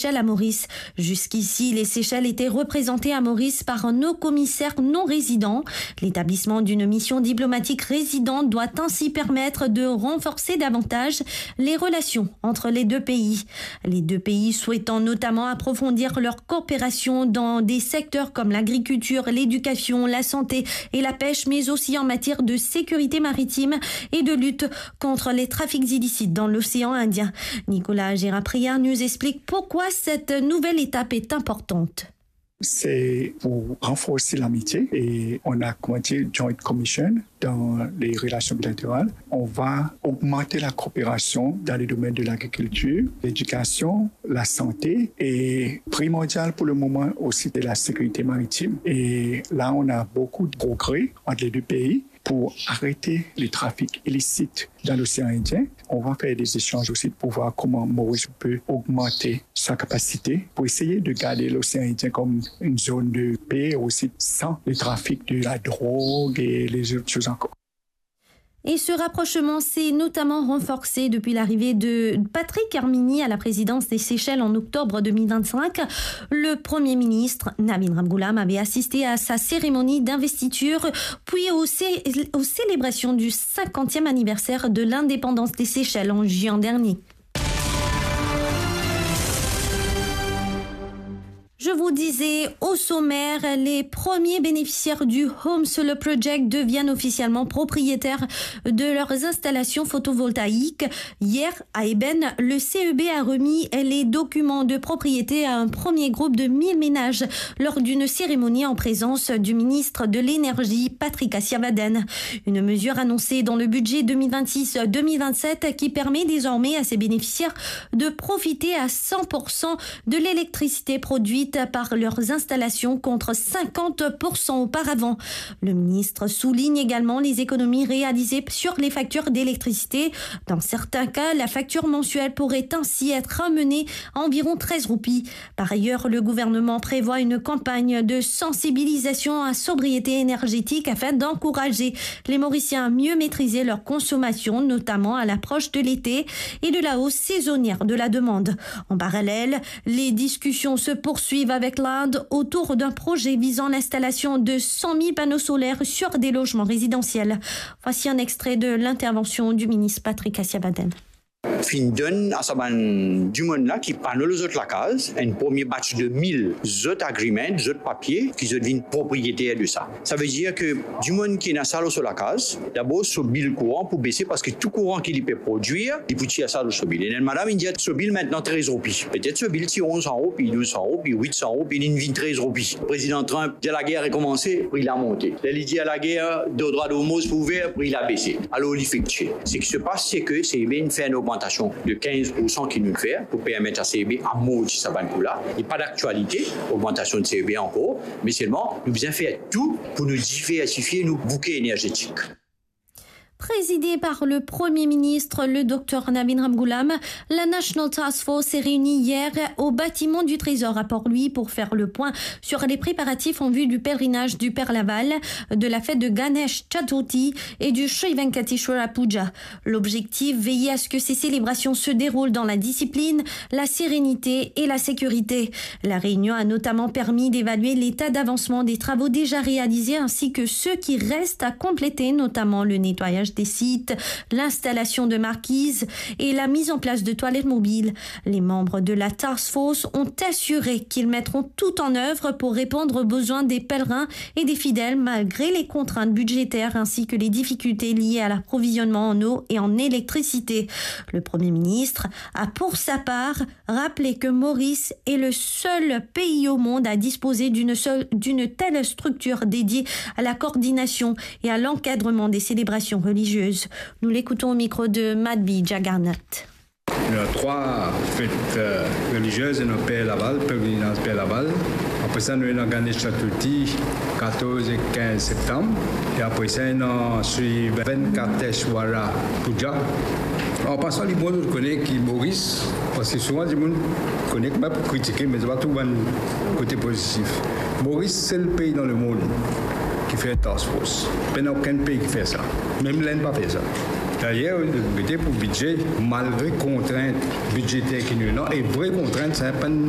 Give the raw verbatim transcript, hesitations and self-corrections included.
Seychelles à Maurice. Jusqu'ici, les Seychelles étaient représentées à Maurice par nos commissaires non résidents. L'établissement d'une mission diplomatique résidente doit ainsi permettre de renforcer davantage les relations entre les deux pays. Les deux pays souhaitant notamment approfondir leur coopération dans des secteurs comme l'agriculture, l'éducation, la santé et la pêche, mais aussi en matière de sécurité maritime et de lutte contre les trafics illicites dans l'océan Indien. Nicolas Gérard-Priard nous explique pourquoi cette nouvelle étape est importante. C'est pour renforcer l'amitié et on a, comment dire, joint commission dans les relations bilatérales. On va augmenter la coopération dans les domaines de l'agriculture, l'éducation, la santé et primordial pour le moment aussi de la sécurité maritime. Et là, on a beaucoup de progrès entre les deux pays pour arrêter les trafics illicites dans l'océan Indien. On va faire des échanges aussi pour voir comment Maurice peut augmenter sa capacité pour essayer de garder l'océan Indien comme une zone de paix aussi sans le trafic de la drogue et les autres choses encore. Et ce rapprochement s'est notamment renforcé depuis l'arrivée de Patrick Herminie à la présidence des Seychelles en octobre deux mille vingt-cinq. Le Premier ministre Navin Ramgoolam avait assisté à sa cérémonie d'investiture, puis aux cé-, aux célébrations du cinquantième anniversaire de l'indépendance des Seychelles en juin dernier. Je vous disais au sommaire, les premiers bénéficiaires du Home Solar Project deviennent officiellement propriétaires de leurs installations photovoltaïques. Hier, à Ébène, le C E B a remis les documents de propriété à un premier groupe de mille ménages lors d'une cérémonie en présence du ministre de l'Énergie, Patrick Assiavaden. Une mesure annoncée dans le budget deux mille vingt-six deux mille vingt-sept qui permet désormais à ses bénéficiaires de profiter à cent pour cent de l'électricité produite par leurs installations contre cinquante pour cent auparavant. Le ministre souligne également les économies réalisées sur les factures d'électricité. Dans certains cas, la facture mensuelle pourrait ainsi être ramenée à environ treize roupies. Par ailleurs, le gouvernement prévoit une campagne de sensibilisation à sobriété énergétique afin d'encourager les Mauriciens à mieux maîtriser leur consommation, notamment à l'approche de l'été et de la hausse saisonnière de la demande. En parallèle, les discussions se poursuivent avec l'Inde autour d'un projet visant l'installation de cent mille panneaux solaires sur des logements résidentiels. Voici un extrait de l'intervention du ministre Patrick Assiavaden. Finn donn a sa bann dimoun la ki pano lor zot lakaz, enn premie batch de mil zot agreement, zot papie, ki zot vinn propriyeter de sa. Savedir ke dimoun ki ena sa lor so lakaz, dabor so bil kouran pou bese, parski tou kouran ki li pe prodwir, li pou tir sa lor so bil. E enn madam inn dir so bil mintnan trez roupi. Petet so bil ti onz san roupi, douz san roupi, wit san roupi, li vinn trez roupi. Prezidan Trump dir lager rekomanse, pri la monte. Ler li dir lager, dor drwa Hormoz pou ouver, pri la bese. Alor li fek tir. Seki se pas, se ke C E B inn fer enn ogmantasion de kinz pour san ki nou fer pou permet a C E B amorti sa bann kou la. Li pa daktialite, ogmantasion de C E B ankor, me selman nou bizin fer tou pou nou diversifie nou bouke enerzetik. Présidée par le Premier ministre, le docteur Navin Ramgoolam, la National Task Force s'est réunie hier au bâtiment du Trésor à Port-Louis pour faire le point sur les préparatifs en vue du pèlerinage du Père Laval, de la fête de Ganesh Chaturthi et du Sri Venkateshwara Puja. L'objectif, veiller à ce que ces célébrations se déroulent dans la discipline, la sérénité et la sécurité. La réunion a notamment permis d'évaluer l'état d'avancement des travaux déjà réalisés ainsi que ceux qui restent à compléter, notamment le nettoyage des sites, l'installation de marquises et la mise en place de toilettes mobiles. Les membres de la task force ont assuré qu'ils mettront tout en œuvre pour répondre aux besoins des pèlerins et des fidèles malgré les contraintes budgétaires ainsi que les difficultés liées à l'approvisionnement en eau et en électricité. Le Premier ministre a pour sa part rappelé que Maurice est le seul pays au monde à disposer d'une seule, d'une telle structure dédiée à la coordination et à l'encadrement des célébrations religieuses. Nous l'écoutons au micro de Madhvi Jagannath. Nou ena trwa fet, euh, reliziez, nou ena Père Laval, pelerinaz Père Laval. Apre sa, nou ena Ganesh Chaturthi, katorz e kinz septam. E apre sa, ena Sri Venkateshwara Puja. An pasan, li bon nou kone ki Moris, parski souvan dimoun kone kouma pou kritike, me zot pa trouv bann kote pozitif. Moris, sel pei dan lemond ki fer task force. Pena okenn pei ki fer sa. Mem Lenn pa fer sa. Dayer, nou gete pou bidze, malgre kontrint bidzeter ki nou ena, e vre kontrint, se pa enn